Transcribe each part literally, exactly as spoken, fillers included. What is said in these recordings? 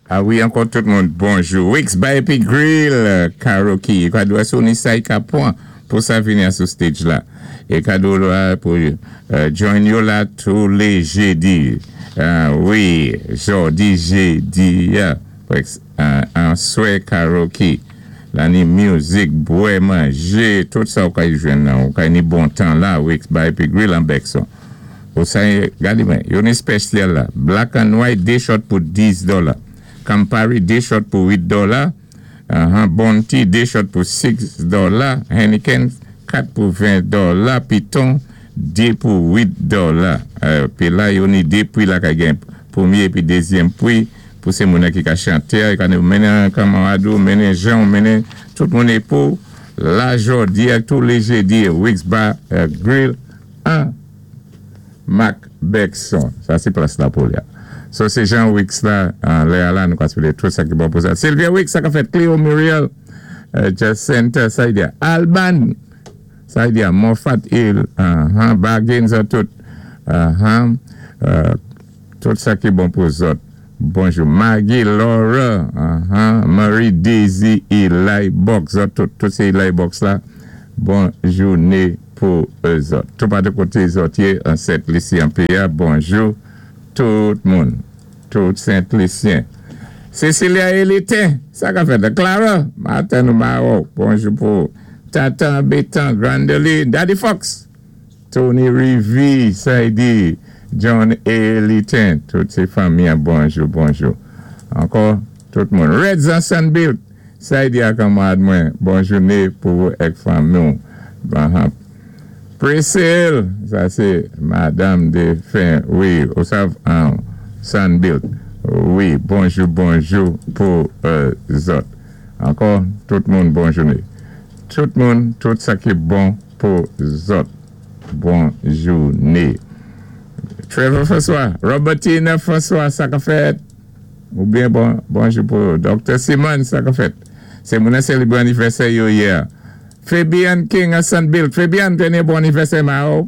Ah wi, ankò tout moun, bonjou. Wix Bar épi Grill, karaoke. Kado sou ni sa ka pwan pou sa vini sou stage la. É kado la pou euh, join yo la tou lé jédi. Ah wi, jòdi, jédi, yeah. An swé karaoke. La ni mizik, bwè, manjé, tout sa ou ka jwenn nan, ou ka ni bon tan la, Wix Bar épi Grill an Bexon. Ou sa, gadi mwen, yo ni spesyal la. Black and white, dé shot pou dis dola. Campari, dé shot pou wit dola. Uh-huh. Bounty, dé shot pou sis dola. Heineken, kat pou ven dola. Piton, dé pou wit dola. Euh, pi la, yo ni dé pri la ka gen pwémyé pi dézyèm pri pou sé moun ki ka chanté, ka mennen kanmarad ou, mennen jan, mennen tout moun é pou la jòdi tou lé jédi, Wix Bar euh, Grill, an Mac Bexon. Sa sé plas la pou la. So sé Jean Wix la, an lè la, nou ka tout sa ki bon pou sa. Sylvia Wix, sa ka fèt Cleo Muriel, euh, Jacinta, sa y di, Alban, sa y di, Moffat Hill, uh -huh, Bargains, tout, uh -huh, euh, tout sa ki bon pou zòt. Bonjou. Maggie, Laura, uh -huh, Marie, Daisy, Eli Box, zòt, tout, tout sé Eli Box la. Bon jouné pou zòt. Tout pa de koté zòt an Sent-Lisi an P A. Bonjou tout moun. Tout Sent-Lisyen. Cecilia Elitin, sa ka fèt. Clara, Martin Maro, bonjou pou Tatan Betan, Grandeli, Daddy Fox, Tony Rivi, Saidi, John Elitin, tout sé fanmi, bonjou, bonjou. Ankò, tout moun. Reds an Sunbuilt, Saidi a kanmarad mwen, bon jouné pou èk fanmi. Priscille, sa sé madam de fin, wi, ou sav, an Sunbuilt. Wi, bonjou, bonjou pou euh, zòt. Ankò, tout moun, bon jouné. Tout moun, tout sa ki bon pou zòt. Bon jouné. Trevor François, Robertina François, sa ka fèt. Ou byen bon, bonjou pou Doktè Simon, sa ka fèt. Sé moun sélébwé anivèsè yo yè. Fabian King a Sunbuilt. Fabian, téné bon anivèsè, Mao.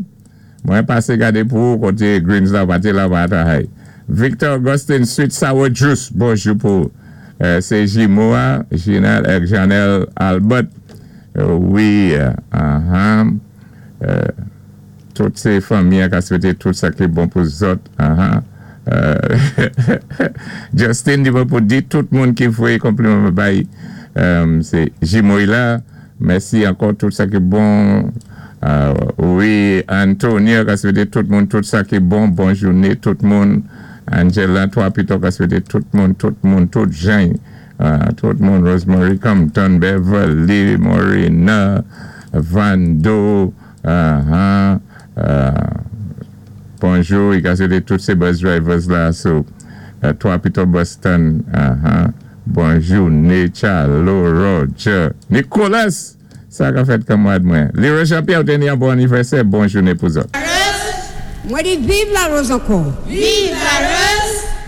Mwen pasé gadé pou koté Greens la, pati la, pati Victor Augustin, Sweet Sour Juice, bonjou pou euh, sé Jimoa, Ginal èk Janelle Albert. Euh, wi, uh -huh. euh, tout sé fanmi ka swété tout sa ki bon pou zòt. Uh -huh. euh, Justin di pou di tout moun ki voyé konpliman bay euh, sé Jimoy la. Mèsi ankò tout sa ki bon. Euh, wi, Antonio ka swété tout moun tout sa ki bon. Bon jouné tout moun. Angela, twa pito ka swété tout moun, tout moun, tout jan. Euh, tout moun, Rosemary Compton, Beverly, Morena, Vando, uh -huh, euh, bonjou, i ka swété tout sé bus drivers la, so, euh, twa pito Boston, uh -huh, bonjou, Nechalo, Roger, Nicolas, sa ka fèt kanmarad mwen. Leroy Jean-Pierre, téné yon bon anivèsè, bon jouné pou zòt. Mwen di viv Larose ankò. Viv Larose!